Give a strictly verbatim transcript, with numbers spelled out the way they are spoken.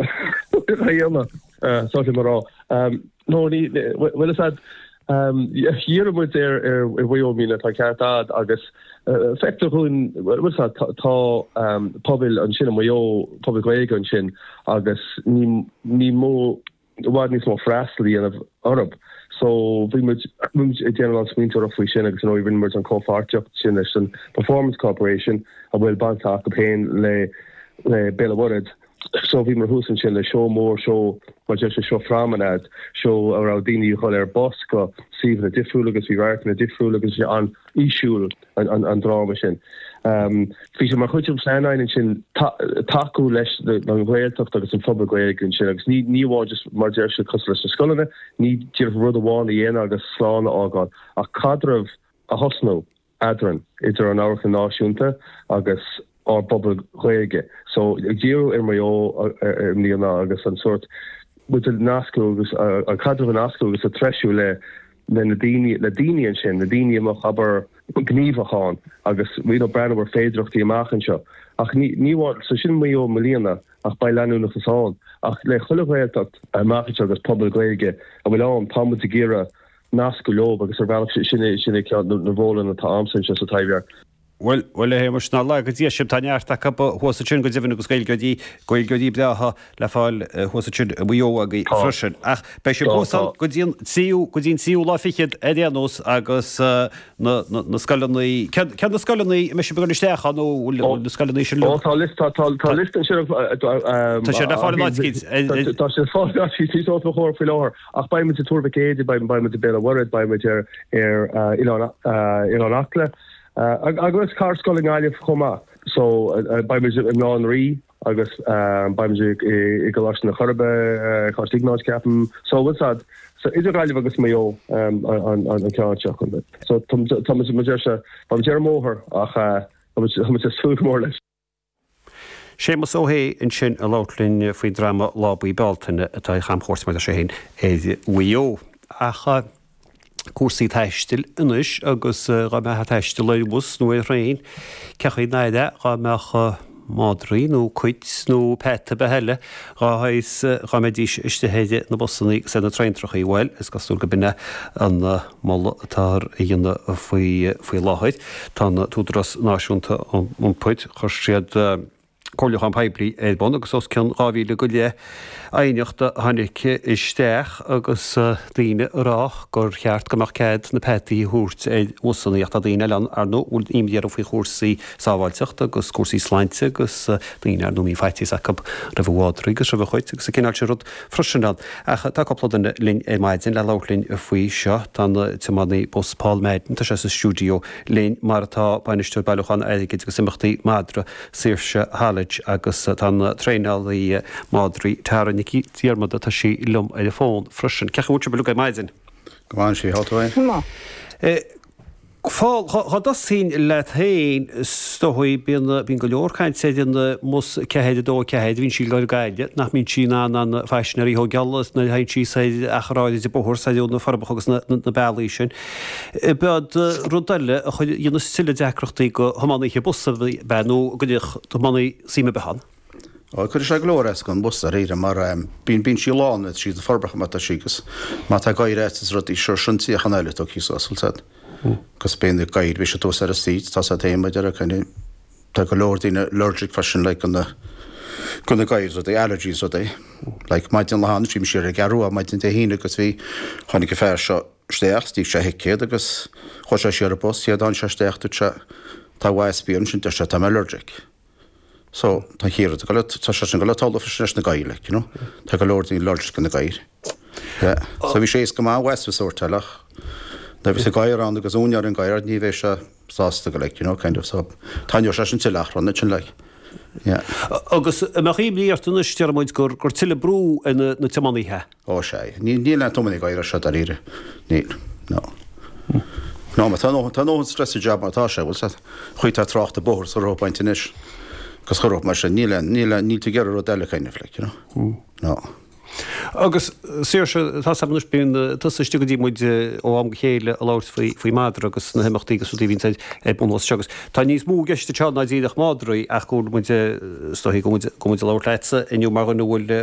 a dhéanamh so mar rá. No ní bhfuil a fhios agat dhírigh muid ar ar Mhaigh Eo i mbliana tá ceart agat agus feictear dhúinn bhfuil a fhios agat tá pobail ansin i Maigh Eo pobal Gaeilge ansin agus ní ní mó i bhfad níos mó freastal a dhéanamh orthu. So bhí muid muid ag déanamh an smaointeoireacht faoi sin agus you know rinne muid an comhpháirtíocht sin leis an Performance Corporation a bhfuil baint acu féin le le Béal an Mhuirthead. So bhí mar thuas ansin le seó mór seó mar deir sé seó promenade seó a raibh daoine ag dul ar bus go suíomhanna difriúla agus bhí radharcanna difriúla agus sé an-fhísiúil an, an, an dráma sin. Um, bhí sé mar chuid den phlean ansin tacú leis an Ghaeltacht agus an phobal Gaeilge ansin agus ní ní amháin just mar deir sé cosúil leis na scoileanna, ní díreach rud amháin a dhéanamh agus slán a fhágáil ach caidreamh a thosnú eadrainn idir an Amharclann Náisiúnta agus ár bpobal Gaeilge. So ag díriú ar Mhaigh Eo i mbliana agus an sórt muid a nascadh agus an caidreamh a nascadh agus a treisiú le le na daoine le daoine ansin, na daoine a mbeadh abair gníomhach ann agus you know breathnú ar féidearthachtaí amach anseo. Ach ní ní amháin so sin Maigh Eo i mbliana ach beidh leanúnachas ann. Ach le chuile Ghaeltacht amach anseo agus pobal Gaeilge a bhfuil ann tá muid ag iarraidh nascadh leo agus ar bhealach sin é sin é ceann na rólanna atá agamsa anseo sa Taibhdhearc. Bhuel, bhuel a Shéamais, nár laga Dia sibh, tá neart acu thuas ansin go deimhin agus Gaeilgeoirí, Gaeilgeoirí breátha le fáil thuas ansin i Maigh Eo agaibh freisin. Ach beidh sibh thuas ann go dtí an tríú, go dtí an tríú lá fichead ar aon nós agus na, na, na scoileanna, céard, céard na scoileanna a mbeidh sibh ag dul isteach ann nó bhfuil, bhfuil na scoileanna sin Ó tá liosta, tá, tá liosta ansin Tá sé le fáil in áit éicint. Tá sé le fáil in áit éicint, níos os mo chomhair faoi láthair. Ach beidh muid i Tuar Mhic Éadaigh, beidh, beidh muid i Béal an Mhuirthead, beidh muid ar, ar Oileán, Oileán Acla. Agus ceithre scoil i nGaillimh chomh maith. So beidh muid i mBaile Átha an Rí agus beidh muid i gColáiste na Coiribe, Coláiste Iognáid ceapaim. So bhfuil a fhios agat so idir Gaillimh agus Maigh Eo an an ceann seo. So tá muid mar deir sé tá muid ar an mbóthar ach tá muid ag súil go mór leis. Séamus Ó hAodha ansin ag labhairt linn faoin dráma Lá Buí Bealtaine atá ag camchuairt mar deir sé féin ar Mhaigh Eo. Ach cúrsaí taistil anois agus dhá mbeifeá ag taisteal ar bhus nó ar thraein, cén chaoi nár dá mbeadh madraí nó cait nó peata ar bith eile dhá shaghas dhá mbeidís istigh ar na busanna agus ar na traentrachaí. Bhuel, is cosúil go b'in é an moladh atáthar a dhéanamh faoi faoi láthair. Tá an tÚdarás Náisiúnta Iompair, chuir siad comhairliúchán poiblí ar bun agus os cionn dhá mhíle go leith aighneacht a tháinig isteach agus daoine ag rá gur cheart go mbeadh cead na peataí a thabhairt ar bhusanna ach tá daoine eile ann ar ndóigh a bhfuil imní orthu faoi chúrsaí sábháilteachta agus cúrsaí sláinte agus daoine ar ndóigh a mbíonn faitíos acu roimh a mhadraí agus roimh a chait agus an cineál sin rud freisin ann. Ach tá cúpla duine linn ar maidin le labhairt linn faoi seo. Tá an tiománaí bus Paul Madden, tá sé sa stiúideo linn mar atá bainisteoir bailiúchán airgid agus imeachtaí madra Saoirse Haulage agus tá an traenálaí madraí Tara Nic Dhiarmada, tá sí liom ar an bhfón freisin. Cén chaoi a bhfuil sibh uilig ar maidin? Go maith, sí, thá tú féin? Paul, dhá dtosóinn leat féin, is dóigh, bíonn, bíonn go leor cainte ar an mbus ceathair a dó a ceathair, bhíonn sí ag dul go Gaillimh, nach mbíonn sí in ann an phaisinéirí a thógáil nuair a théann sí soir achar áirid de bóthar soir ó na Forbacha agus na, na bealaí sin. B'iad rud eile a chuir, dhéanas tuilleadh deacrachtaí go thiománaithe bus ab ea nó go dtig tiománaí suim ar bith ann? Ó, cuirfidh sé go leor as don bhus dáiríre mar bíonn bíonn sí lán, is siad na Forbacha má tá sí agus má tá gadhair agat is rudaí seo sin suíochán eile tugtha suas, bhfuil 's a'd. Agus bíonn na gadhair, bhí siad thuas ar an seat, tá 's a'd féin maidir le kind of tá go leor daoine allergic freisin like go na go na gadhair is rudaí, allergies rudaí. Like maidin lá cheana bhí mise ar an gCeathrú Rua maidin Dé hAoine agus bhí tháinig an fear seo isteach, d'íoc sé a thicéad agus chuaigh sé siar ar an bus, chéad tháinig sé isteach dúirt sé tá wasp ansin, deir sé tá mé allergic. So, tá an chéad rud ag dul, tá sé sin ag dul le talamh freisin leis na gadhair, like, you know. Tá go leor daoine allergic do na gadhair. Yeah. So bhí sé éasca go maith an wasp a sórtáil ach nuair a bhí gadhar ann agus úinéir an gadhair ní bheidh sé sásta go like, you know, kind of, so taitneoidh sé sin tuilleadh achrann ansin, like. Yeah. Agus an mbeadh imní ort anois, deir muid, gur gur tuilleadh brú ar na na tiománaithe? Ó sea. Níl níl aon tiománaí ag iarraidh seo dáiríre. Níl. No. No, má tá ndóthain tá ndóthain stress sa job mar atá sé, bhfuil 's a'd. Chaoi tá trácht an bóthar sa roth baint anois agus chuir mar sin níl aon níl aon níl tú ag iarraidh rud eile kind of like, you know. No. Agus Saoirse, tá anois bíonn tusa istigh go dtí muid ó am go chéile ag labhairt faoi faoi madra agus na himeachtaí agus rudaí a bhíonn ar bun seo agus tá níos mó i gceist anseo ná díreach madraí ach go bhfuil muid is dóigh go bhfuil muid ag labhairt leatsa inniu mar dhuine a bhfuil